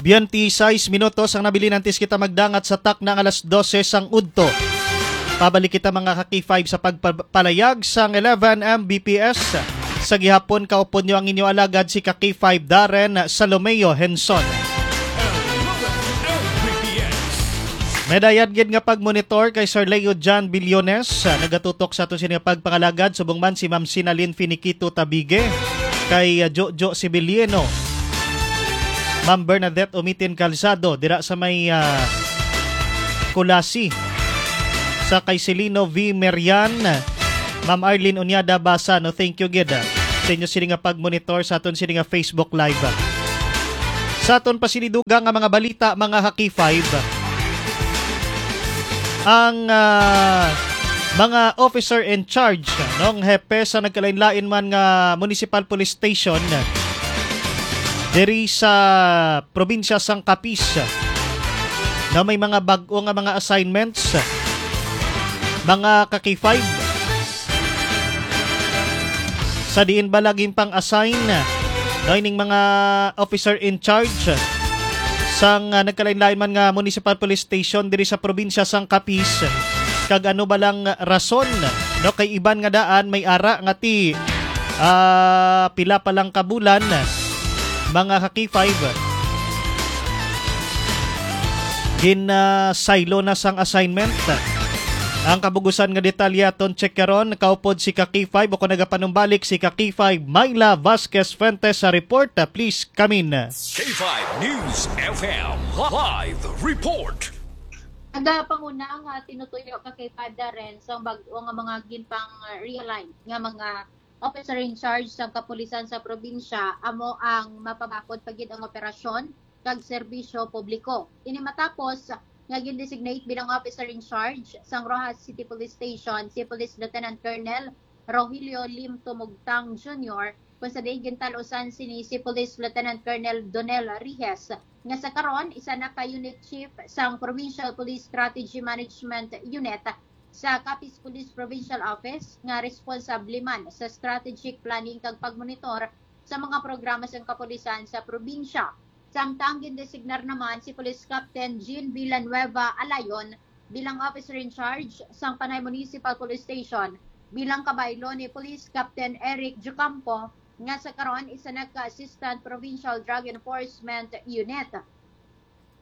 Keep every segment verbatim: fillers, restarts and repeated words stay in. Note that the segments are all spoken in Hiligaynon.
Twenty-six minutos ang nabilin antes kita magdangat sa takna nga alas dose sang udto. Pabalik kita, mga ka-K five, sa pagpalayag sang eleven M B P S sa gihapon. Kaupod nyo ang inyo alagad, si ka-K five Darren Salomeo Henson. May dayat gid nga pagmonitor kay Sir Leo John Billones. Nagatutok sa aton sini nga pagpangalagad, subong man si Ma'am Sinalyn Finiquito Tabige, kay, ah, Jojo Sibilieno, Ma'am Bernadette Umitin Calzado dira sa may, ah, Culasi, sa kay Celino V Merian, Ma'am Arlene Uñada Basa, no, thank you gid, ah, sa inyo sini nga pag-monitor sa aton sini nga Facebook Live. Sa aton pa sini dugang nga mga balita, mga ka-K five, ang, ah, mga officer in charge, no, ang hepe sa nagkalain-lain man nga municipal police station diri sa probinsya sang Capiz, na may mga bag-o nga mga assignments, mga ka-K five, sa diin bala ginpang-assign, no, ining mga officer in charge sang, ah, nagkalain-lain man nga municipal police station diri sa probinsya sang Capiz, kag ano ba lang rason, no, kay iban nga daan may ara nga ti, ah, pila pa lang ka bulan, mga ka-K five, ginasaylo na sang assignment. Ang kabugusan nga detalye aton check karon, kaupod si ka-K five, o kung nagapanumbalik si ka-K five, Myla Vasquez Fuentes sa report. Please come in. K five News F M live report. Nagapanguna nga tinutuyo ka kay Pada Renz ang bag-o nga mga ginpang-realign nga mga officer in charge sang kapulisan sa probinsya, amo ang mapabakod pa gid ang operasyon kag serbisyo publiko. Ini matapos nga gin-designate bilang officer in charge sang Roxas City Police Station si Police Lieutenant Colonel Rogelio Lim Tumugtang Junior, kung sa diin gintal-usan sini si Police Lieutenant Colonel Donel Rijes, nga sa karon isa na ka unit chief sang Provincial Police Strategy Management Unit sa Capiz Police Provincial Office, nga responsable man sa strategic planning kag pagmonitor sa mga programa sang kapulisan sa probinsya. Samtang gindesignar naman si Police Captain Jean Villanueva Alayon bilang officer in charge sang Panay Municipal Police Station, bilang kabaylo ni Police Captain Eric Jucampo, nga sa karon isa na ka Assistant Provincial Drug Enforcement Unit.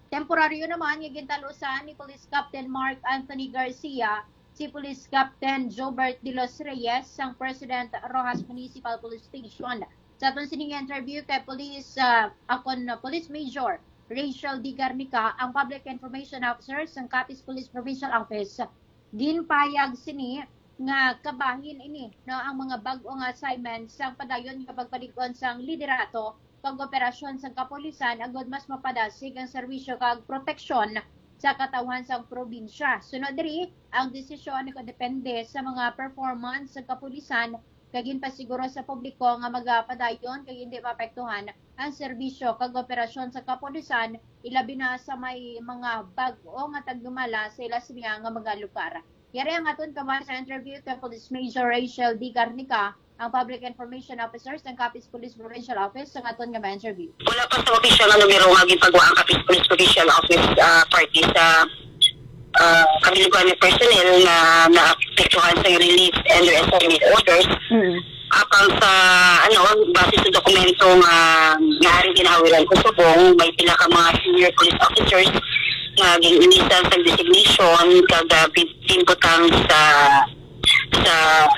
Temporaryo naman nga gintal-usan ni Police Captain Mark Anthony Garcia si Police Captain Jobert de los Reyes sang President Roxas Municipal Police Station. Sa aton sining interview kay Police, ah, akon, ah, Police Major Rachel D. Garnica, ang Public Information Officer sang Capiz Police Provincial Office, ginpayag sini nga kabahin ini, no, ang mga bag-o nga assignments sang padayon nga pagpalig-on sang liderato kag operasyon sang kapulisan agud mas mapadasig ang serbisyo kag proteksyon sa katawhan sang probinsya. Sunod diri, ang desisyon nakadepende sa mga performance sang kapulisan kag ginpasiguro sa publiko nga magapadayon kag hindi maapektuhan ang serbisyo kag operasyon sa kapulisan, ilabi na sa may mga bag-o nga tagdumala sa ila siniya nga mga lugar. Yari ang aton kabahin sa interview kay Police Major Rachel D. Garnica, ang Public Information Officer sa Capiz Police Provincial Office, sa aton nga ma-interview. Wala pa sa opisyal nga numero nga ginpagawa ang Capiz Police Provincial Office, ah, parte sa, ah, kabiliguan nga personnel nga naapektuhan sa relief and reassignment orders. Mm. Apang sa, ano, base sa dokumento nga naaring ginahawiran ko subong, may pila ka mga senior police officers nga gin-ilisan sa designation kag, ah, pin-, pinbutang sa, sa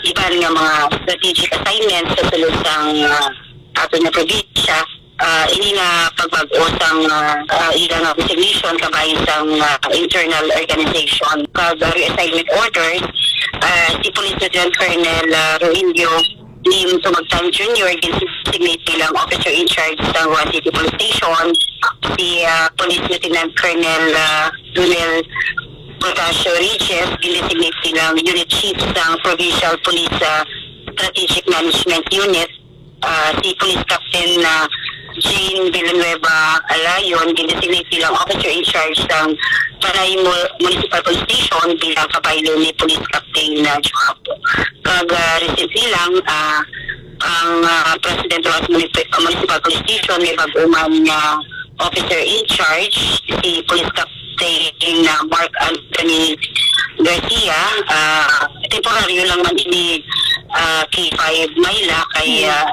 iban nga mga strategic assignments sa sulod sang, ah, aton nga probinsya. Ah, ini nga pagbag-o sang, ah, ah, ila nga resignation kabahin sang, ah, internal organization kag reassignment orders, ah, si Police Lieutenant Colonel, ah, Rogelio Lim Tumagtang Junior gin-designate bilang officer in charge sa Roxas City Police Station, si, ah, Police Lieutenant Colonel, ah, Donel Protasio Regis gin-designate bilang unit chief sang Provincial Police, ah, Strategic Management Unit. Ah, si Police Captain, ah, Jean Villanueva Alayon gin-designate bilang officer in charge sang Panay Mu-, Municipal Police Station bilang kabaylo ni Police Captain, ah, Joapo. Kag, ah, recently lang, ah, ang, ah, President Roxas Munip-, Municipal Police Station may bag-o man nga officer in charge, si Police Captain, ah, Mark Anthony Garcia. Ah, temporaryo lang man ini, ah, K five Manila kay, ah,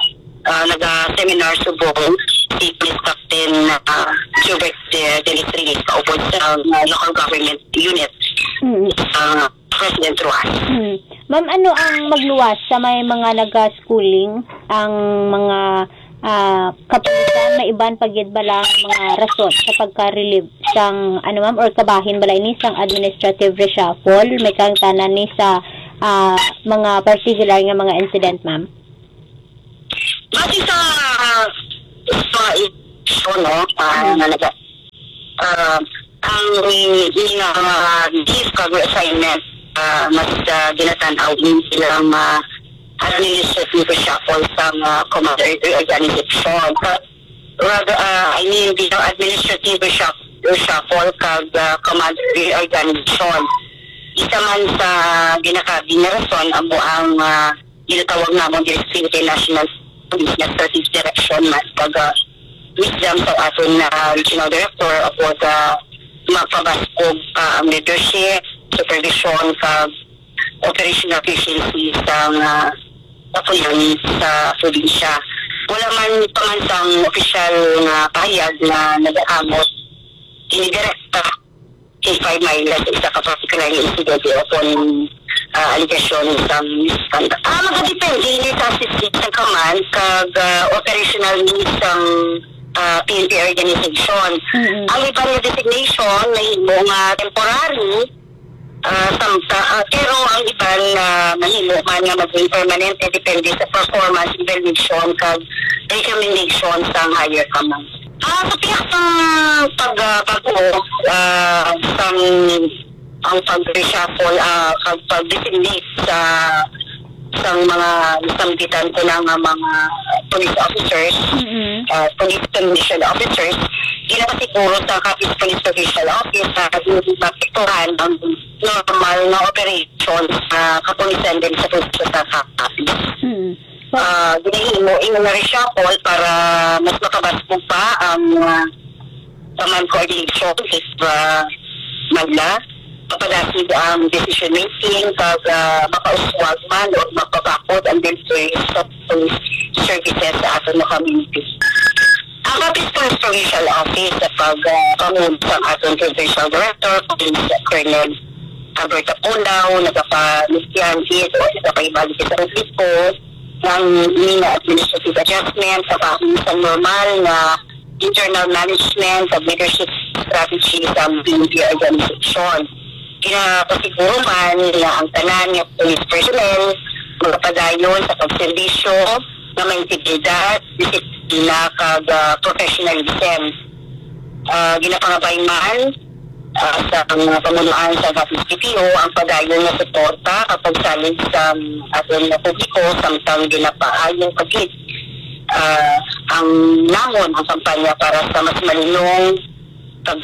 ah, naga-seminar subong si Police Captain, ah, Gilbert De, Dennis Reyes, kaupod sa, ah, local government unit Mm. sa President Roxas. Mm. Ma'am, ano ang magluwas sa may mga naga-schooling, ang mga, ah, kapulisan, may iban pa gid bala mga rason sa pagka-relieve sang, ano, ma'am, or kabahin bala ini sang administrative reshuffle? May kahangtanan ni sa, ah, mga particular nga mga incident, ma'am? Base sa, sa issue, no, ah, Mm. na naga-, ah, ang, ang, ah, leave kag reassignment, ah, mas, ah, ginatan-aw ini bilang, ah, administrative reshuffle sang, ah, command re-, reorganization. Ka-, rather, ah, I mean, bilang administrative reshuff-, reshuffle kag, ah, command reorganization. Isa man sa ginakabi nga rason amo ang, ah, ginatawag namon diri sa Philippine National Police nga strategic direction man pag, ah, wisdom sa aton, ah, regional director about, ah, mapabaskog pa ang leadership, supervision, kag operational efficiency sa mga kapulisan sa probinsya. Wala man pa man sang opisyal nga pahayag nga nagaamot ini direkta K five Manila sa isa ka particular nga insidente o kon, ah, alegasyon sa misconduct. Ah, magadepende ini sa assistance sa command kag, ah, operational needs sang, ah, P N P organization. Mm-mm. Ang iban nga designation nahimo nga temporary, ah, samta-, ah, pero ang iban, ah, mahimo man nga maging permanente depende sa performance evaluation kag recommendation sang higher command. Ah, sa pihak sang pag-, ah, pag-, ah, sang, ang pag-reshuffle, ah, kag pag-designate sa, sang mga nasambitan ko na nga mga police officers, Mm-mm. ah, police commissioned officers, ginapasiguro sa Capiz Police Provincial Office na hindi maapektuhan ang normal nga operation sa kapulisan din sa probinsya sa Capiz. Mm. Ah, ginahimo ini nga reshuffle para mas makabaskog pa ang, ah, command coordination sa, ah, Manila. Mapadasig ang decision making kag, ah, makauswag man o mapabakod ang delivery sa police services sa aton nga community. Ang Capiz Police Provincial Office sa pag, ah, panguna sa aton Provincial Director, Police Colonel Albert Apolao, nagapamilyang gid o nagapahibalo sa publiko ng mga administrative adjustment sa bahin sa normal nga internal management ug leadership strategy sa P N P organization. Ginapasiguro man nga ang tanan nga police personnel magapadayon sa pagserbisyo nga may integridad, disiplina, kag, ah, professionalism. Ah, ginapangabay man, ah, sa mga pamunuan sa Capiz P P O ang padayon nga suporta kag pagsalig sa aton nga publiko samtang ginapaayong pagid, ah, ang namon ang kampanya para sa mas malinong kag,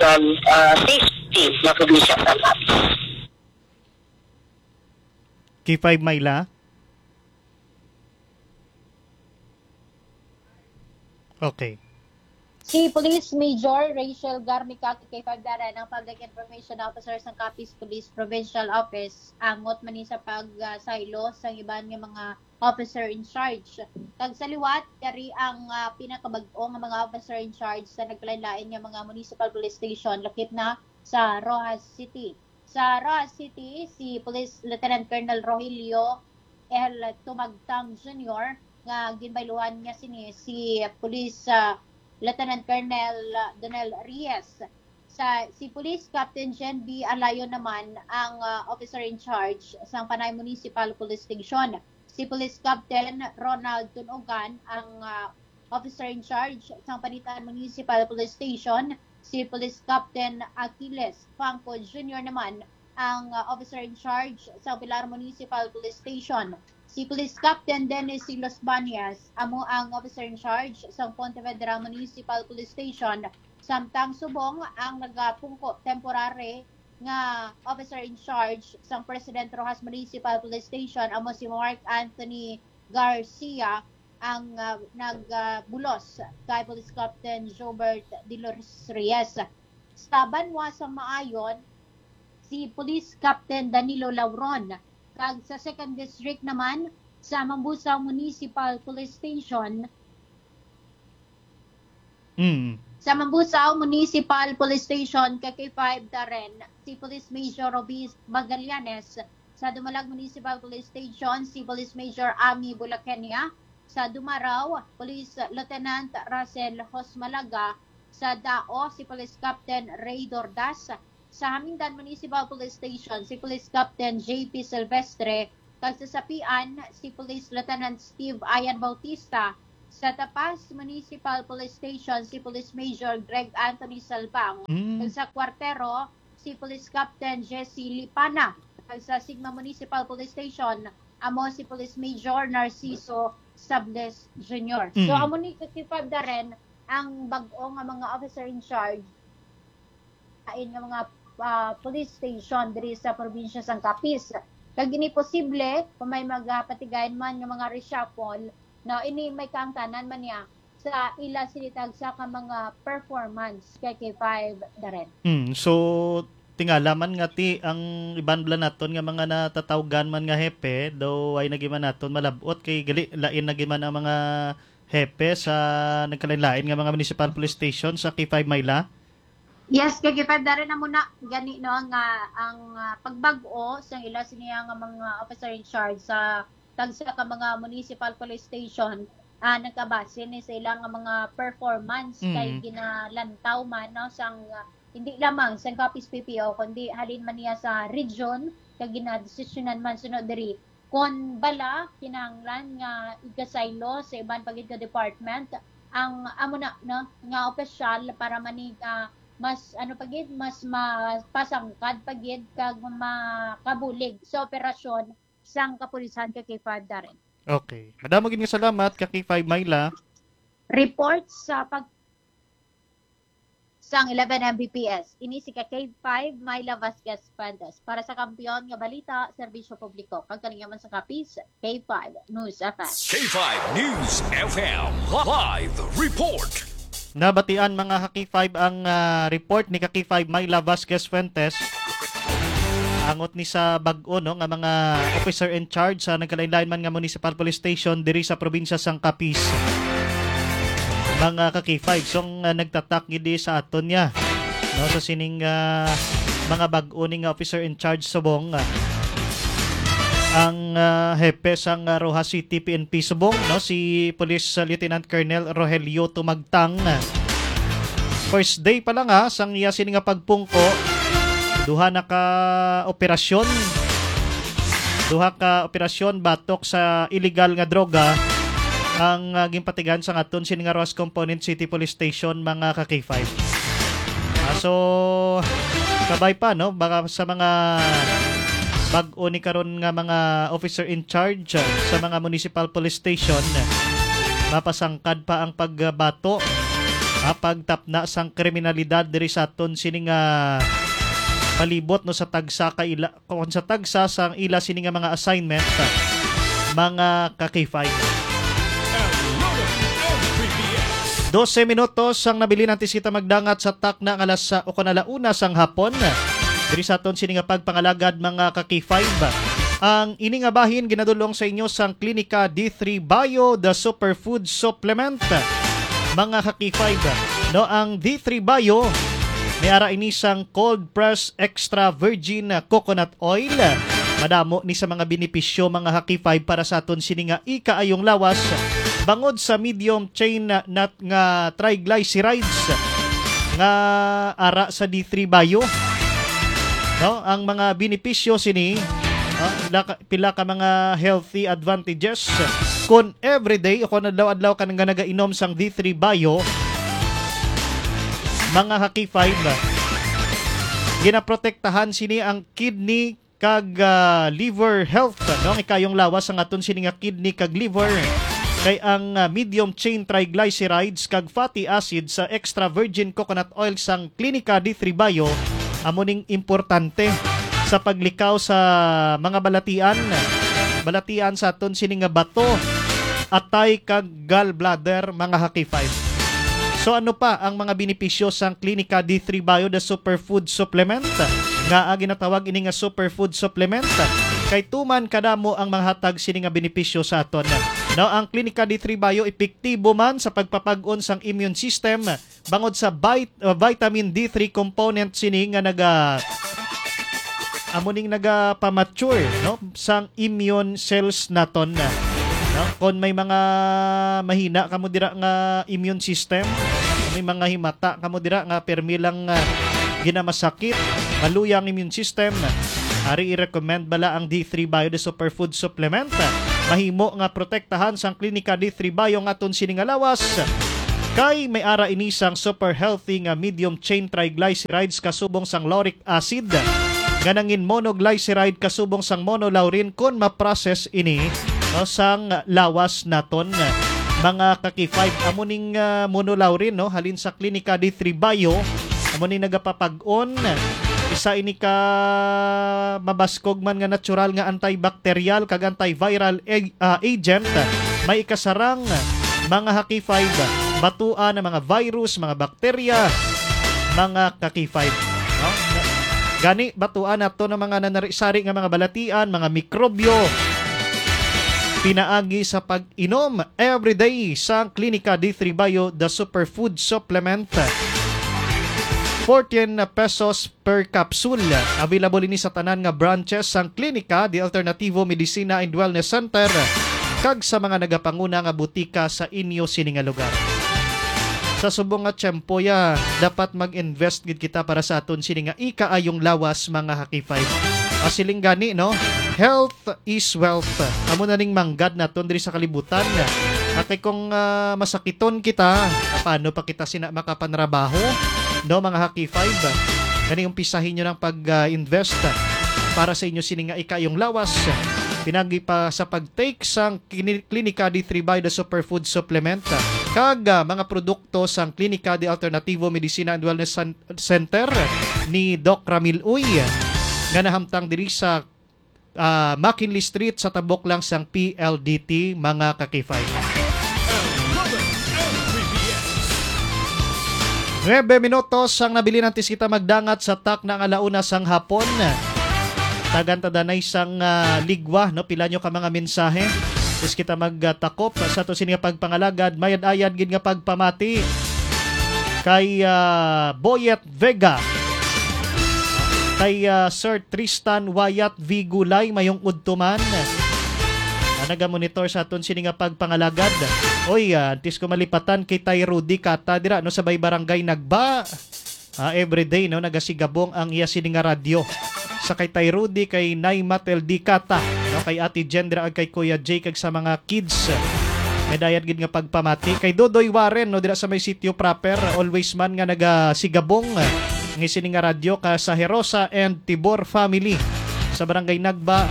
ah, safety nga probinsya sa Capiz. K five Myla? Okay. Si Police Major Rachel Garnica, K five Daran, ang Public Information Officer sang Capiz Police Provincial Office, angot man ni sa pagsaylo sang iban nga mga officer in charge. Kag sa liwat, yari ang, ah, pinakabag-o nga mga officer in charge sa nagkalain-lain nga mga municipal police station, lakip na sa Roxas City. Sa Roxas City, si Police Lieutenant Colonel Rogelio L. Tumagtang Junior, nga ginbayluhan niya sini si Police, ah, Lieutenant Colonel Donel Reyes. Sa, si Police Captain Jen B. Alayon naman ang, ah, officer in charge sang Panay Municipal Police Station. Si Police Captain Ronald Tunugan ang, ah, officer in charge sang Panitan Municipal Police Station. Si Police Captain Achilles Fangco Junior naman ang, ah, officer in charge sang Pilar Municipal Police Station. Si Police Captain Dennis Silos Banyas amo ang officer in charge sang Ponte Vedra Municipal Police Station, samtang subong ang nagapungko temporary nga officer in charge sang President Roxas Municipal Police Station amo si Mark Anthony Garcia, ang, ah, nag, ah, bulos kay Police Captain Jobert De Los Reyes. Sa banwa sang Maayon, si Police Captain Danilo Lauron, kag sa Second District naman, sa Mambusao Municipal Police Station, Mm. Sa Mambusao Municipal Police Station, K K five Darren, si Police Major Robis Magallanes. Sa Dumalag Municipal Police Station, si Police Major Ami Bulakenia. Sa Dumarao, Police Lieutenant Russell Hosmalaga. Sa Dao, si Police Captain Ray Dordas. Sa Hamindan Municipal Police Station, si Police Captain J P Silvestre. Kag sa Sapian, si Police Lieutenant Steve Ayan Bautista. Sa Tapas Municipal Police Station, si Police Major Greg Anthony Salbang. Mm. Kag sa Cuartero, si Police Captain Jesse Lipana. Kag sa Sigma Municipal Police Station, amo si Police Major Narciso Sables Junior. So, Mm. amo ni K K five Darren ang bag-o nga mga officer in charge lain nga mga, ah, police station diri sa probinsya sang Capiz. Kag ini posible kung may magapatigayon man nga mga reshuffle, no, ini may kaangtanan man niya sa ila sini tagsa ka mga performance, K K five Darren. Hmm, so, tingala man nga ti ang iban bala naton nga mga natatawgan man nga hepe, daw ay nagi man naton malab-ot kay gali lain nagi man ang mga hepe sa nagkalain-lain nga mga municipal police station sa K five Myla. Yes, K K five Darren, amo na gani, no, nga ang, ah, pagbag-o sa ila siniya nga mga officer in charge sa tagsa ka mga municipal police station, ah, nagkabase ni sa ila nga mga performance kay Mm. ginalantaw man, no, sang, ah, hindi lamang sang Capiz P P O kundi halin man niya sa region kag ginadesisyonan man sunod diri kon bala kinahanglan nga igasaylo sa iban pa gid nga department ang amo na, no, nga opisyal para manig, ah, mas ano pa gid, mas mapasangkad pa gid kag makabulig sa operasyon sang kapulisan, K K five Darren. Okay. Madamo gid nga salamat, K K five Myla. Report sa pag-, sang eleven M B P S. Ini si K K five Myla Vasquez Fuentes. Para sa Kampiyon nga Balita, Serbisyo Publiko, kag kalingaman sa Capiz, K five News F M. K five News F M live report. Nabatian, mga ka-K five, ang, ah, report ni ka-K five Myla Vasquez Fuentes. Angot ni sa bag-o, no, nga mga officer in charge sa nagkalain-lain man nga municipal police station diri sa probinsya sang Capiz. Mga ka-K five, so, nga nagtatak gid sa aton niya, no, sa sining, ah, mga bag-o ni nga officer in charge subong, ah, ang, ah, hepe sang, ah, Roxas City P N P subong, no, si Police, ah, Lieutenant Colonel Rogelio Tumagtang. First day pa lang, ha, sang iya sini nga pagpungko, duha na ka operasyon, duha ka operasyon batok sa illegal nga droga ang, ah, ginpatigan sang aton sini nga Roxas Component City Police Station, mga ka-K five. Ah, so, kabay pa, no? Baka sa mga bag-o ni karon nga mga officer in charge, ah, sa mga municipal police station, mapasangkad pa ang pagbato, ah, pagtapna sang kriminalidad diri sa aton sini nga palibot, no, sa tagsa ka ila, kung sa tagsa sang ila sini nga mga assignment, mga ka-K five. Dose minutos ang nabilin antes kita magdangat sa takna nga alas, ah, o kon ala una sang hapon. Diri sa aton sini nga pagpangalagad, mga ka-K five. Ang ini nga bahin ginadulong sa inyo sang Klinika D three Bio, the superfood supplement. Mga ka-K five, no, ang D three Bio, may ara ini sang cold press extra virgin coconut oil. Madamo ni sa mga benepisyo, mga ka-K five, para sa aton sini nga ikaayong lawas, bangod sa medium chain na, na, nga triglycerides nga ara sa D three Bio. No, ang mga benepisyo sini, ah, pila ka, pila ka mga healthy advantages. Kon everyday o kon adlaw-adlaw ka nga nagainom sang D three Bio, mga ka-K five, ginaprotektahan sini ang kidney kag, ah, liver health, no? Ang ikayong lawas ang aton sini nga kidney kag liver, kay ang, ah, medium chain triglycerides kag fatty acid sa extra virgin coconut oil sang Klinika D three Bio amo ning importante sa paglikaw sa mga balatian, balatian sa aton sini nga bato. atay kag gallbladder, mga ka-K five. So ano pa ang mga benepisyo sang Klinika D three Bio, the superfood supplement? Nga ginatawag ini nga superfood supplement kay tuman kadamo ang mga hatag sini nga benepisyo sa aton. No, ang Klinika D three Bio epektibo man sa pagpapag-on sang immune system bangod sa vit-, uh, vitamin D three component sini nga naga amo ning nagapamature, no, sang immune cells naton. No? Kon may mga mahina kamo dira nga immune system, may mga himata kamo dira nga permi lang, ah, ginamasakit, maluya ang immune system, ari i-recommend bala ang D three Bio, the superfood supplement. Mahimo nga protektahan sang Klinika D three Bio ang aton sini nga lawas. Kay may ara ini sang super healthy nga medium chain triglycerides kasubong sang lauric acid nga nangin monoglyceride kasubong sang monolaurin kon ma-process ini, no, sang lawas naton. Mga ka-K five, amo ning, ah, monolaurin, no, halin sa Klinika D three Bio, amo ning nagapapag-on. Isa ini ka mabaskog man nga natural nga antibacterial kag antiviral ag-, ah, agent. May ikasarang mga ka-K five, batuan ang mga virus, mga bakterya, mga ka-K five, no? Gani, batuan nato ng mga nanari-sari nga mga balatian, mga mikrobyo, pinaagi sa pag-inom everyday sang Klinika D three Bio, the superfood supplement. Fourteen pesos per capsule. Available ini sa tanan nga branches sang Klinika de Alternativo Medicina and Wellness Center kag sa mga nagapanguna nga butika sa inyo sini nga lugar. Sa subong nga tiyempo, ya, dapat mag-invest gid kita para sa aton sini nga ikaayong lawas, mga ka-K five. Masiling gani, no? Health is wealth. Amo na ning manggad naton diri sa kalibutan. Kay kung, ah, masakiton kita, paano pa kita sina makapanrabaho? No, mga ka-K five, gani umpisahi nyo ng pag-invest para sa inyo sini nga ikaayong lawas. Pinagi pa sa pag-take sang kini-, Klinika D three Bio, the superfood supplement, kag, ah, mga produkto sang Klinika de Alternativo Medicina and Wellness San-, Center ni Doc Ramil Uy, nga nahamtang diri sa, ah, McKinley Street sa tabok lang sang P L D T, mga ka-K five. Nuebe minutos ang nabilin antes kita magdangat sa takna nga ala una sang hapon. Tagan ta danay sang, ah, ligwa, no? Pila nyo ka mga mensahe. Antes kita magtakop sa to sini nga pagpangalagad, mayad-ayad gid nga pagpamati kay, ah, Boyet Vega, kay, ah, Sir Tristan Wayat V Gulay, mayong udto man. Ah, nagamonitor sa aton sini nga pagpangalagad. Oy, ah, antes ko malipatan kay Tay Rudy Kata dira, no, sa may barangay Nagba. Ah, everyday, no, nagasigabong ang iya sini nga radyo. Sa kay Tay Rudy, kay Nay Matel D Kata, no, kay Ate Jen dira, ag kay Kuya Jay, kag sa mga kids. May dayat gid nga pagpamati kay Dodoy Warren, no, dira sa may sitio proper, always man nga nagasigabong, ah, ng sini nga radyo ka sa Herosa and Tibor family sa Barangay Nagba,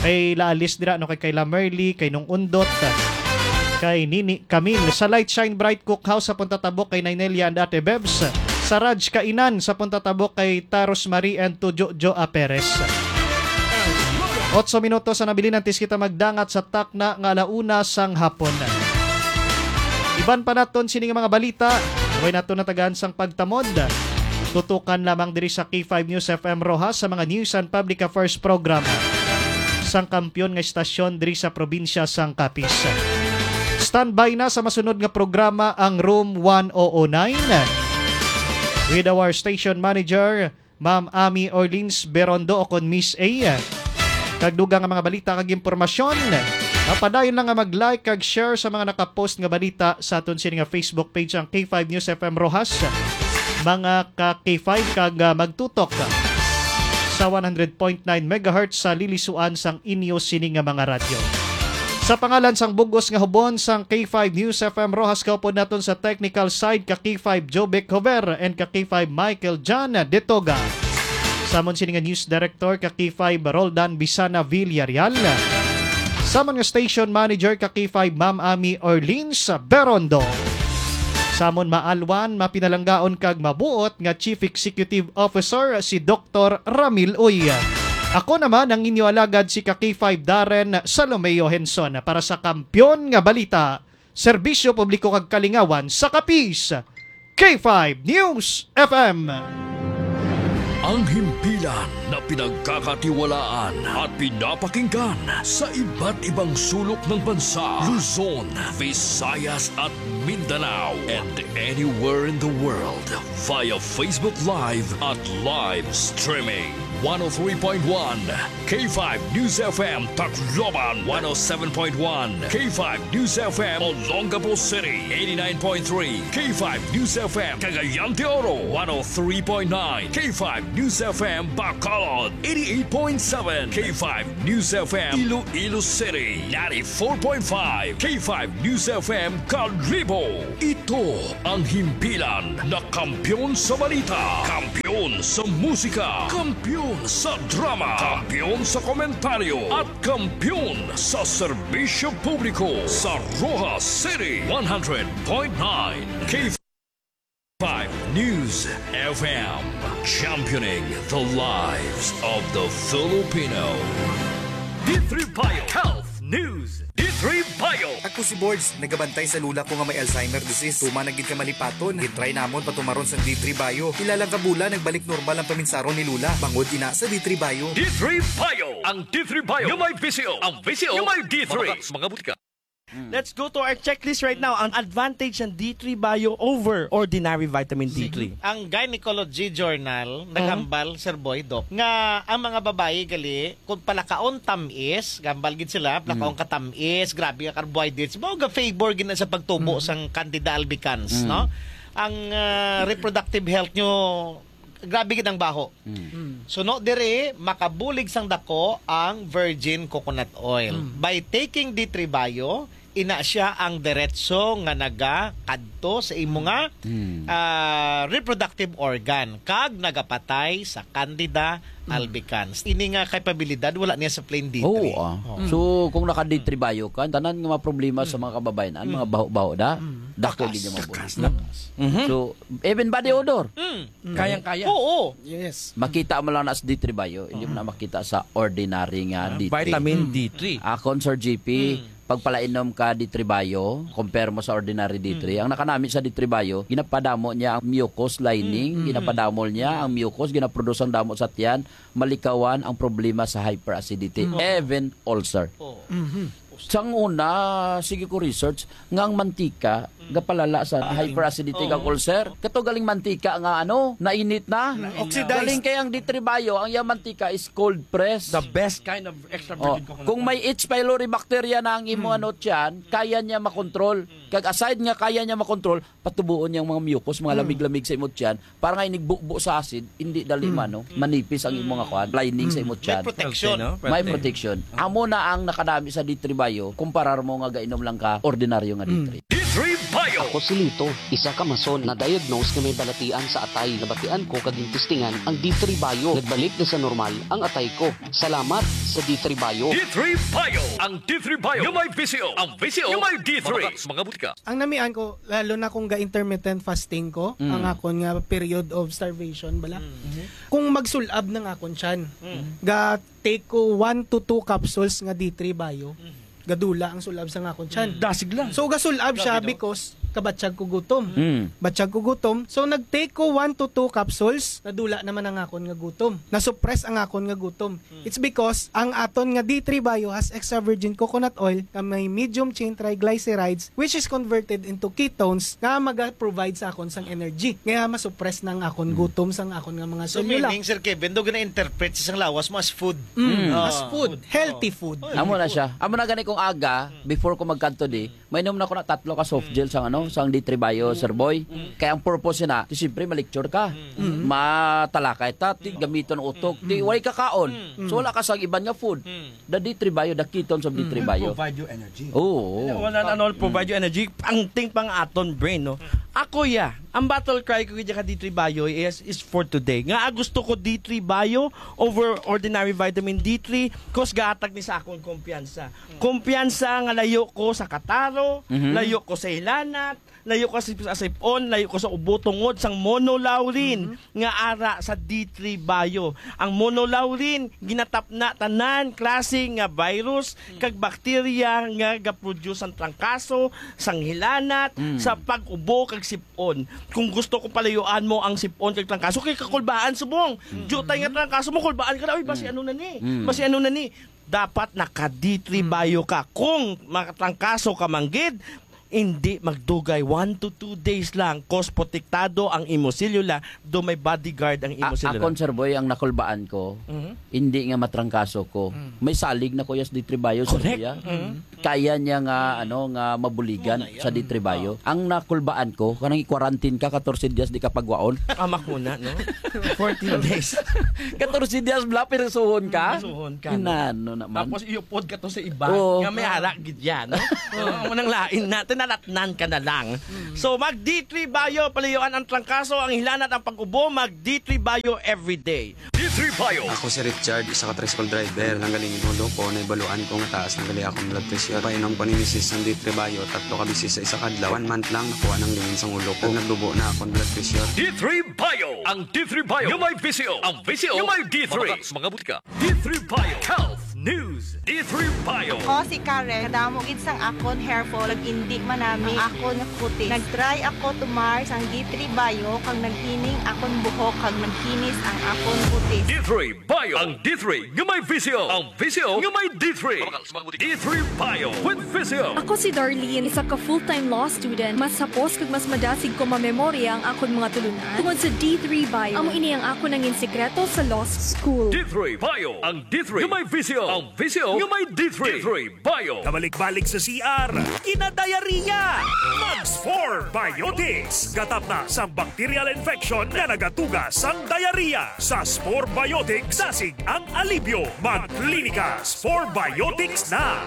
kay La Alice dira, no, kay Kayla Merly, kay Nung Undot, kay Nini Camille. Sa Light Shine Bright Cookhouse sa Punta Tabok kay Nainelia and Ate Bebs. Sa Raj Kainan sa Punta Tabok kay Ta Rosemary and to Jojo A Perez. Otso minutos ang nabilin antes kita magdangat sa takna nga ala una sang hapon. Iban pa naton sini nga mga balita, way naton natagaan sang pagtamod. Tutukan lamang diri sa K five News F M Roxas sa mga News and Public Affairs Program sang kampiyon nga istasyon diri sa probinsya sang Capiz. Standby na sa masunod nga programa ang Room one oh oh nine with our station manager, Ma'am Ami Orleans Berondo, o kon Miss A. Kag dugang nga mga balita kag impormasyon, mapadayon lang nga mag-like kag share sa mga nakapost nga balita sa aton sini nga Facebook page, ang K five News F M Roxas, mga ka K five, kag, ah, magtutok sa one hundred point nine megahertz sa lilisuan sang inyo sini nga mga radyo. Sa pangalan sang bug-os nga hubon sang K five News F M Roxas, kaupod naton sa technical side ka K five Jovic Hover and ka K five Michael John Detoga. Samon sini nga news director ka K five Roldan Bisana Villarreal. Samon nga station manager ka K five Ma'am Ami Orleans Berondo. Samon maalwan, mapinalanggaon kag mabuot nga Chief Executive Officer si Doktor Ramil Uy. Ako naman ang inyo alagad, si ka K five Darren Salomeo Henson, para sa Kampiyon nga Balita, Serbisyo Publiko kag Kalingawan sa Capiz, K five News F M. Ang himpilan na pinagkakatiwalaan at pinapakinggan sa iba't ibang sulok ng bansa, Luzon, Visayas at Mindanao, and anywhere in the world via Facebook Live at live streaming. One oh three point one K five News F M Tacloban, one oh seven point one K five News F M Olongapo City, eighty-nine point three K five News F M Cagayan de Oro, one oh three point nine K five News F M Bacolod, eighty-eight point seven K five News F M Iloilo City, ninety-four point five K five News F M Kalibo. Ito ang himpilan na kampiyon sa balita, kampiyon sa musika, kampiyon sa drama, kampiyon sa komentaryo, at kampiyon sa serbisyo publiko sa Roxas City, one hundred point nine K five News F M, championing the lives of the Filipino. D three Bio Health News. D three Bio. Ako si Bords, nagabantay sa lula ko nga may Alzheimer disease. Tuma na gid ka malipaton. Gitry namon patumaron sang D three Bio. Pila lang ka bulan, nagbalik normal ang paminsaron ni lula. Bangod ina sa D three Bio. D three Bio. Ang D three Bio nga may V C O. Ang V C O nga may D three. Mga butika. Let's go to our checklist right now. Ang advantage ng D three Bio over ordinary vitamin D three. Ang Gynecology Journal naghambal, Sir Boy, Doc, nga ang mga babayi gali, kung palakaon tamis, gambal gid sila, palakaon ka tamis, grabe nga carbohydrates, mao ga favor gid na sa pagtubo sang Candida albicans, no? Ang, ah, reproductive health nyo, grabe gid ang baho. Mm. Suno diri, makabulig sang dako ang virgin coconut oil. Mm. By taking D three Bio, ina sia ang diretso nga nagakadto sa imo nga, Mm. ah, reproductive organ kag nagapatay sa Candida albicans. Ini nga kapabilidad wala niya sa plain D three. Oo, ah. Oo. So, kung naka D three Bio ka, tanan nga mga problema sa mga kababayan, mga baho-baho da, dako gid yung mga buhay. Takas, takas. Mhm. So, even body odor. Mm. Kayang-kaya. Oo. Yes. Makita mo lang na sa D three Bio, hindi mo na makita sa ordinary nga Ah, D three. Vitamin D three. Akon, Sir G P, Mm. pagpalainom ka D three Bio, compare mo sa ordinary D three, Mm. ang nakanami sa D three Bio, ginapadamo niya ang mucus lining, Mm. ginapadamo niya ang mucus, ginaproduce ang damo sa tiyan, malikawan ang problema sa hyperacidity, Mm. even ulcer. Oo. Mhm. Sang una, sige ko research nga ang mantika Mm. gapalala sa Ah, hyperacidity Oo. kag ulcer. Kato galing mantika nga ano, nainit na. Nainit. Oxidized. Galing kay ang D three Bio, ang iyang mantika is cold press. The best kind of extra Oh, virgin coconut kung may oil. H. pylori bacteria na ang imo Mm. ano tiyan, kaya niya makontrol. Mm. Kag aside nga kaya niya makontrol, patubuon niya ang mga mucus, mga Mm. lamig-lamig sa imo tiyan, para nga inigbubo sa acid, hindi dali Mm. mano, Mm. manipis ang imo nga Mm. kuan, lining sa Mm. imo May tiyan. protection. Healthy, no? May Healthy. protection. Amo na ang nakanami sa D three Bio, kumparar mo nga gainom lang ka ordinaryo nga Mm. D three. D three Bio. Ako si Lito, isa ka mason na diagnose nga may balatian sa atay. Nabatian ko kag gintistingan ang D three Bio. Nagbalik na sa normal ang atay ko. Salamat sa D three Bio. D three Bio. Ang D three Bio nga may V C O. Ang V C O nga may D three. Mga, mga butika. Ang namian ko, lalo na kung ga-intermittent fasting ko, Mm. ang akon nga period of starvation, bala. Mm. Kung magsul-ab na nga akon tiyan, Mm. ga take ko one to two capsules nga D three Bio, Mm. gadula ang sul-ab sa nga akon tiyan. Mm. Dasig lang. So, gasul-ab siya Grabe, no? because kabatyag ko gutom. Mm. Batyag ko gutom. So, nag-take ko one to two capsules, nadula naman ang akon nga gutom. Nasuppress ang akon nga gutom. Mm. It's because ang aton nga D three Bio has extra virgin coconut oil nga may medium chain triglycerides, which is converted into ketones nga maga-provide sa akon sang energy. Kaya masuppress na ang akon Mm. gutom sang akon nga mga So, selula. meaning, Sir Kevin, daw gina-interpret sa isang lawas mo as food. Mm. Mm. Ah, As food, food. healthy Oh. food. Oh, Amo na food. siya. Amo na gani kung aga, Mm. before ko magkadto di, Mm. mainom na ko na tatlo ka soft Mm. gel sang ano, sang D three Bio, Mm. Sir Boy. Mm. Kaya ang purpose na, di siyempre ma-lecture ka. Mm. Mm. Matalakay ta, di Mm. gamiton utok, Mm. di way kakaon. Mm. So wala ka sang iban nga food. Mm. The D three Bio, the ketones of Mm. D three Will Bio. provide you energy. Oo. Wala na, ano, provide you energy. Ang ting pang aton brain, no? Mm. Ako, ya, ang battle cry ko gid ka D three Bio is, is for today. Nga, ah, gusto ko D three Bio over ordinary vitamin D three, 'cause gahatag ni sa akon kumpiyansa. Mm. Kumpiyansa nga layo ko sa kataro, Mhm. layo ko sa hilanat, layo ka sa, sa sipon, layo ka sa ubo tungod sang monolaurin nga ara sa D three Bio. Ang monolaurin ginatapna tanan klase nga virus kag bakterya nga ga-produce sang trangkaso, sang hilanat, Mm. sa pag-ubo kag sipon. Kung gusto ko palayuan mo ang sipon kag trangkaso, kay kakulbaan subong. Mm. Jutay nga trangkaso mo, kulbaan ka na, "Uy, basi Mm. ano na ni? Mm. Basi ano na ni?" Dapat naka D three Mm. Bio ka. Kung makatrangkaso ka man gid, hindi magdugay, one to two days lang, 'cause protektado ang imo selula, do may bodyguard ang imo A-, selula. Akon, Sir Boy, ang nakulbaan ko, Mhm. hindi nga matrangkaso ko. Mm. May salig na ko yas D three Bio, Sir Correct. Boy, ah. Mm. Kaya niya nga, ano, nga mabuligan Muna sa yan. D three Bio. Ang nakulbaan ko, kanang i-quarantine ka, katorse dias di ka pagwaon. Ah, makuna, no? Fourteen days. Katorse dias bla, pirsuhon ka? Pirsuhon ka, no? Inano naman? Tapos iupod ka to sa iba, Oo. nga may ara gid yan, no? Oo, amo nang lain na, tinalatnan ka na lang. Mm. So, mag D three Bio, palayuan ang trangkaso, ang hilanat, ang pag-ubo, mag D three Bio everyday. D three Bio. Ako si Richard, isa ka tricycle driver. Nanggaling ang ulo ko, naibaluan ko nga taas na gali akong blood pressure. Painom ko ni misis sang D three Bio, tatlo ka beses sa isa ka adlaw. One month lang, nakuha nang lingin sang ulo ko. Nagdubo na akong blood pressure. D three Bio. Ang D three Bio nga may V C O. Ang V C O nga may D three. Mabakal sa mga butika. D three Bio Health News. D three Bio. Ako si Karen. Kadamo gid sang akon hair fall, nag-indi manami ang akon kutis. Nag-try ako tumar sang D three Bio, kag naghining akon buhok, kag naghinis ang akon kutis. D three Bio. Ang D three nga may V C O. Ang V C O nga may D three. Mabakal sa mga butika. D three Bio with V C O. Ako si Darlene, isa ka full-time law student. Mas hapos kag mas madasig ko mamemorya ang akon mga tulunan tungod sa D three Bio. Amo ini ang akon nangin sikreto sa law school. D three Bio. Ang D three nga may V C O. Ang V C O nga may D three. D three Bio. Kabalik-balik sa C R, kinadayariya. Mag Spore Biotics. Gatapna sang bacterial infection nga nagatuga sang diarrhea. Sa Spore Biotics, dasig ang alibyo. Mag Clinica Spore Biotics na.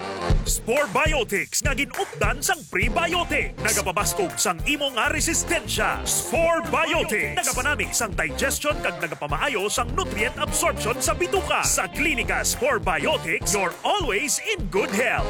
Spore Biotics nga gin-updan sang prebiotic. Nagapabaskog sang imo nga resistensya. Spore Biotics. Nagapanami sang digestion kag nagapamaayo sang nutrient absorption sa bituka. Sa Klinika Spore Biotics, you're always in good health.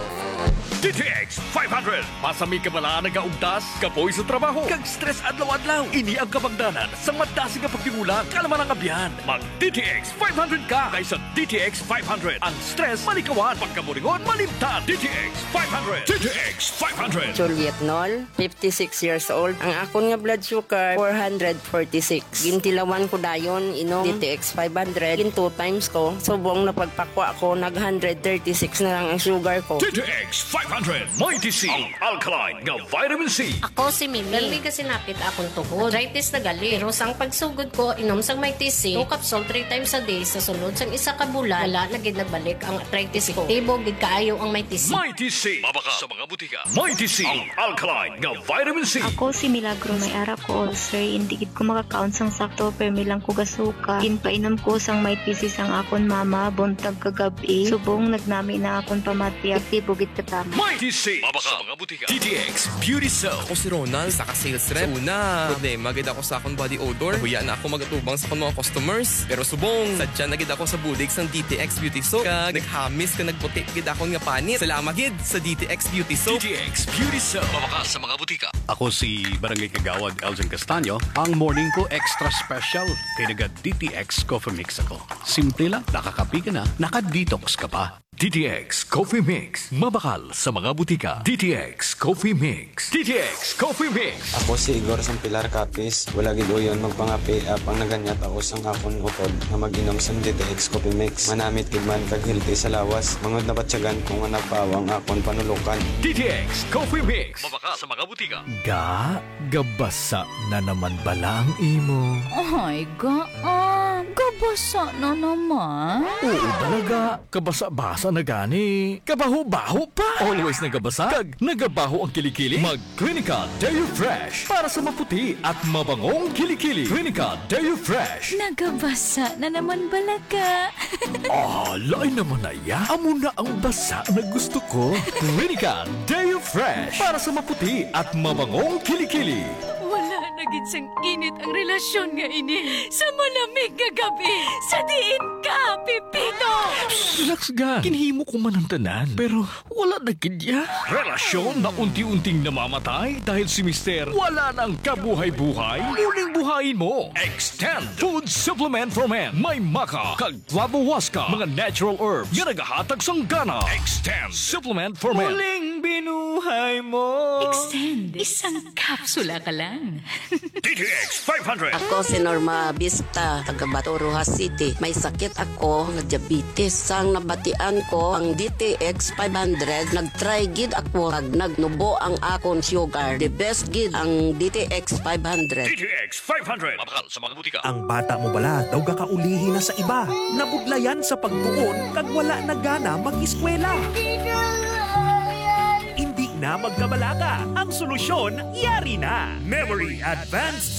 D T X five hundred. Masami ka bala nagaugtas, kapoy sa trabaho, kag stress adlaw-adlaw. Ini ang kabangdanan sang madasig nga pagtigulang, kalma ang abyan. Mag D T X five hundred ka. Kay sa D T X five hundred, ang stress malikawan, pagkaburingon malimtan. D T X five hundred. D T X five hundred. Juliet Nol, fifty-six years old. Ang akon nga blood sugar, four hundred forty-six. Gintilawan ko dayon, inom D T X five hundred. Gin two times ko. Subong na pagpakwa ko, nag hundred thirty-six na lang ang sugar ko. D T X five hundred, Mighty C, ang alkaline nga vitamin C. Ako si Mimi. Gali ka sinapit akong tuhod. Arthritis na gali. Pero sang pagsugod ko, inom sang Mighty C, two capsule three times a day, sa sulod sang isa ka bulan, wala na gid nagbalik ang arthritis ko. Epektibo gid kaayo ang Mighty C. Mighty C. Mabakal sa mga butika. Mighty C, ang alkaline nga vitamin C. Ako si Milagro, may ara ko ulcer, hindi gid ko makakaon sang sakto, permi lang ko gasuka. Ginpainom ko sang Mighty C sang akon mama, buntag kag gab-i. Subong nagnami na akon pamati, aktibo gid katama. Mighty C. Mabakal sa mga butika. D T X Beauty Soap. Ako si Ronald, isa ka sales rep. Sa una, problema gid ako sa akon body odor. Nahuya na ako magatubang sa akon mga customers. Pero subong, sadya na gid ako sa bulig sang D T X Beauty Soap. Kag naghamis kag nagputi gid akon nga panit. Salamat gid sa D T X Beauty Soap. D T X Beauty Soap. Mabakal sa mga butika. Ako si Barangay Kagawad Elgin Castaño. Ang morning ko extra special kay naga D T X Coffee Mix ako. Simple lang, nakakape ka na, naka-detox ka pa. D T X Coffee Mix. Mabakal sa mga butika. D T X Coffee Mix. D T X Coffee Mix. Ako si Igor sang Pilar Capiz. Wala gid uyon magpangape, apang naganyat ako sang akon utod nga mag-inom sang D T X Coffee Mix. Manamit gid man kag healthy sa lawas. Mangod nabatyagan ko nga nagpaawa ang akon panulukan. D T X Coffee Mix. Mabakal sa mga butika. Ga, gabasa na naman bala ang imo? Ay, ga, ah, gabasa na naman. Oo, balaga. Kabasa-basa na gani. Kabaho-baho pa. Always nagabasa. Kag nagabaho ang kilikili. Mag Clinica Deo Fresh para sa maputi at mabangong kilikili. Clinica Deo Fresh. Nagabasa na naman bala ka. Ah, lain naman na ya. Amo na ang basa na gusto ko. Clinica Deo Fresh para sa maputi at mabangong kilikili. Wala Nagid sang init ang relasyon nga ini sa malamig nga gabi. Sa diin ka, Pipito? Relax, ga. Ginhimo ko man ang tanan, pero wala na gid ya. Relasyon na unti-unting namamatay dahil si Mister wala nang kabuhay-buhay. Muling buhayin mo. Extend Food Supplement for Men. May maca kag flavohuasca, mga natural herbs nga nagahatag sang gana. Extend Supplement for Men. Muling binuhay mo. Extend. Isang kapsula ka lang. D T X five hundred. Ako si Norma Bista, taga Bato, Roxas City. May sakit ako nga diabetes. Sang nabatian ko ang D T X five hundred, nag-try gid ako kag nagnubo ang akon sugar. The best gid ang D T X five hundred. D T X five hundred. Mabakal sa mga butika. Ang bata mo bala daw gakaulihi na sa iba, nabudlayan sa pagtuon kag wala na gana mag-eskwela. Hindi na magkabalaka. Ang solusyon, yari na. Memory Advanced